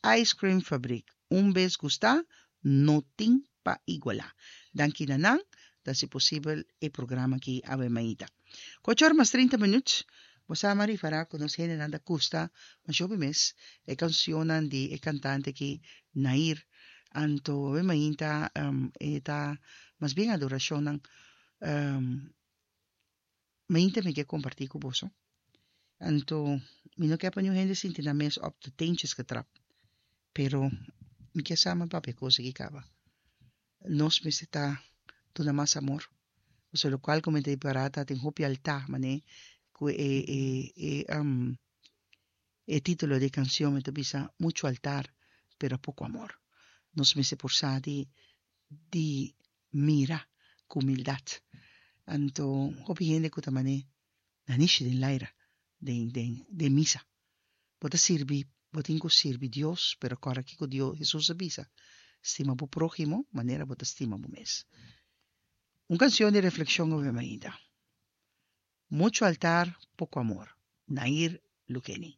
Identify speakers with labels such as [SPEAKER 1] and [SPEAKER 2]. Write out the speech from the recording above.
[SPEAKER 1] Ice Cream Fabriek. Un bes gustá, no tin pa igualá. Danki na nan ta hasi posibel e programa aki awe mainta. Ku ocho ora mas trinta minüt, bo sa mi a ripará ku nos hendenan ta gusta masha hopi mes e kanshonnan di e kantante aki Nair. Anto awe mainta e ta mas bien adorashonnan. Mainta mi ke kompartí ku boso. Anto mi no ke pa niun hende sinti nan mes op de teentjes getrapt. Pero mi ke sa mi papia kos aki kaba. Nos mester ta duna mas amor. Pasobra lokual ku mi ta ripará ta tin hopi altá manera ku e e e e título di e kanshon mi ta bisa mucho altar pero poko amor. Nos mester por sa di di mira ku humildat. Anto hopi hende ku ta man'é nanishi den laira, den den den misa. Bo ta sirbi, bo tin ku sirbi Dios, pero kòrda kiko Dios, Hesus a bisa, Stima bo próhimo manera bo ta stima bo mes. Un kanshon di reflekshon awe mainta. Muchu altar, poko amor. Nair Lukeni.